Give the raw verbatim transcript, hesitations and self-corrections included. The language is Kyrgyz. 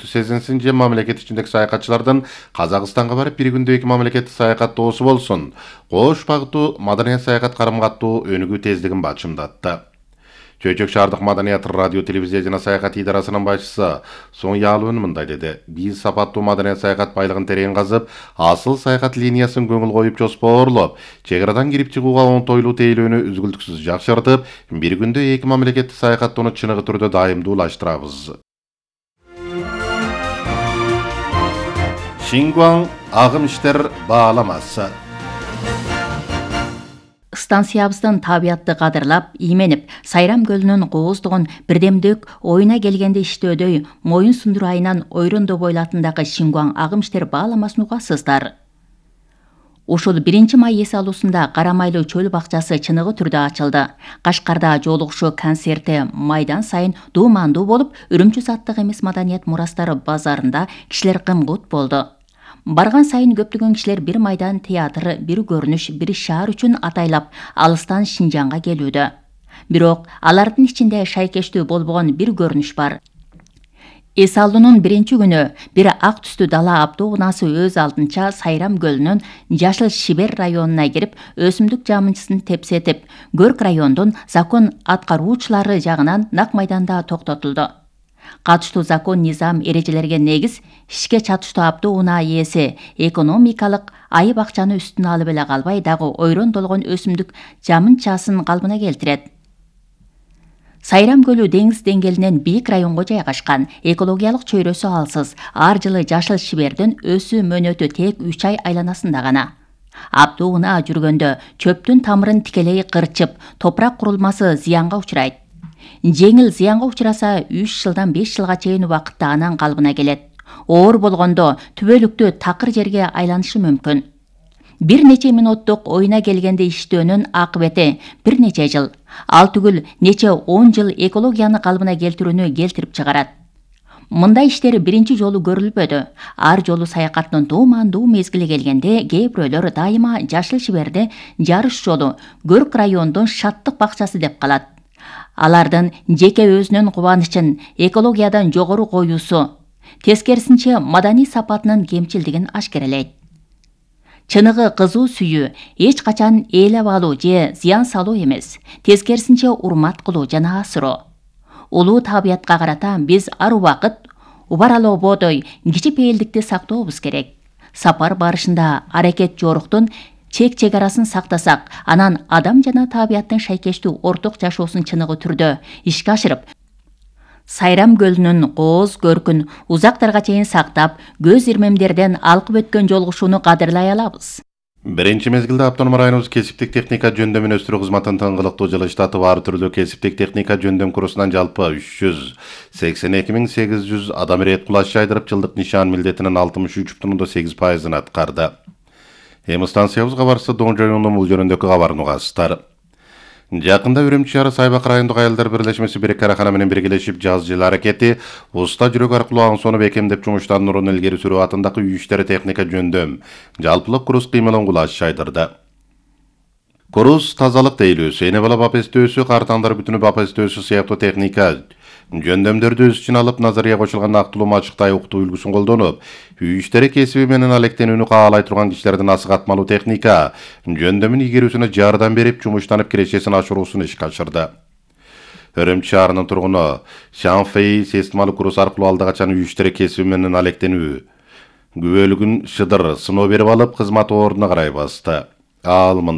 сезинсин же мамлекет ичиндеги саякатчылардын Казакстанга барып бир күндө эки мамлекеттик саякаттоосу болсун. Кош багыттуу маданият саякат карым-каттуу өнүгүү тездигин бачымдатты. Чөйчөк шаардык маданият радио телевизия жана саякат идарасынын башчысы Соң Ялуун мындай деди. Биз сапаттуу маданият саякат байлыгын терең казып, асыл саякат линиясын көңүл коюп жоспоорлоп, чек арадан кирип чыгууга оңтойлуу тейлөөнү үзгүлтүксүз жакшыртып, бир күндө эки мамлекеттик саякаттоону чыныгы түрдө дайымдуулаштырабыз. Шингуан агым иштер бааламасы. Станциябыздын табиятты кадырлап, ийменип, Сайрам көлүнүн кооздугун бирдемдик оюна келгенде иштөөдөй Моюн Сундур айынан Ойрондо бойлатындагы Шингуан агым иштер бааламасын угасыздар. Ушул биринчи май эс алуусунда Карамайлуу чөл бакчасы чыныгы түрдө ачылды. Кашкарда жолугушуу концерти майдан сайын дуумандуу болуп, Үрүмчү заттык эмес маданият мурастары базарында кишилер кымгут болду. Барган сайын көптөгөн кишилер бир майдан театр, бир көрүнүш, бир шаар үчүн атайлап алыстан Шинжаңга келүүдө. Бирок алардын ичинде шайкештүү болбогон бир көрүнүш бар. Эс алуунун биринчи күнү бир ак түстүү дала автобунасы өз алдынча Сайрам көлүнүн Жашыл Шибер районуна кирип, өсүмдүк жамынчысын тепсетип, Көрк райондун закон аткаруучулары жагынан нак майданда токтотулду. Катыштуу закон низам эрежелерге негиз ишке чатыштуу автобунаа ээси экономикалык айып акчаны үстүнө алып эле калбай, дагы ойрондолгон өсүмдүк жамынчасын калпына келтирет. Сайрам көлү деңиз деңгээлинен бийик районго жайгашкан, экологиялык чөйрөсү алсыз, ар жылы Жашыл Шибердин өсүү мөөнөтү тек үч ай айланасында гана. Автобунаа жүргөндө чөптүн тамырын тикелей кырчып, топурак курулмасы зыянга учурайт. Жеңил зыянга учураса үч жылдан беш жылга чейин убакытта анан калыбына келет. Оор болгондо түбөлүктүү такыр жерге айланышы мүмкүн. Бир нече минуттук оюна келгенде иштөөнүн акыбети бир нече жыл, ал түгүл нече он жыл экологияны калыбына келтирүүнү келтирип чыгарат. Мындай иштер биринчи жолу көрүлбөдү. Ар жолу саякаттын дуумандуу мезгили келгенде кээ бирөөлөр дайыма Жашыл Шиберди жарыш жолу, Көрк райондун шаттык бакчасы деп калат. Алардын жеке өзүнүн кубанычын экологиядан жогору коюусу, тескерисинче маданий сапатынын кемчилдигин ашкерелейт. Чыныгы кызуу сүйүү эч качан ээлеп алуу же зыян салуу эмес, тескерисинче урмат кылуу жана асыроо. Улуу табиятка карата биз ар убакыт убаралоободой кичипейилдикти сактообуз керек. Сапар барышында аракет жоруктун чек чегарасын сактасак, анан адам жана табияттын шайкештүү орток жашоосун чыныгы түрдө ишке ашырып, Сайрам көлүнүн кооз көркүн узактарга чейин сактап, көз ирмемдерден алкып өткөн жолугушууну кадырлай алабыз. Биринчи мезгилде автоном районубуз кесиптик техника жөндөмүн өстүрүү кызматын тыңгылыктуу жылыштатып, ар түрлүү кесиптик техника жөндөм курсунан жалпы үч жүз сексен эки миң сегиз жүз адам ирет кулаш жайдырып, жылдык нишан милдетинин алтымыш үч бүтүн ондон сегиз пайызын аткарды. Эми станциябызга барса Дон районунун бул жөнүндөгү кабарын угасыздар. Жакында Үрүмчү шаары Сайбак райондук аялдар бирлешмеси бир карахана менен биргелешип жаз жыл аракети уста жүрөк аркылуу аң сонуп экемдеп жумуштандырууну илгери сүрүү атындагы үй иштери техника жөндөм жалпылык курус кыймылын кулаш жайдырды. Курус тазалык тейлөөсү, эне бала бап эстөөсү, картаңдар бүтүнү бап эстөөсү сыяктуу техника жөндөмдөрдү өз үчүн алып, назария кочулган актылуу мачыктай уктуу үлгүсүн колдонуп, үй иштери кесиби менен алектенүүнү каалай турган кишилердин асыгатмалуу техника жөндөмүн игерүүсүнө жардам берип, жумуштанып кирешесин ашыруусун ишке ашырды. Үрүмчү шаарынын тургуну Шанфей системалык курус аркылуу алда качан үй иштери кесиби менен алектенүү күбөлүгүн шыдыр сыноо берип алып, кызмат ордуна карай басты. Ал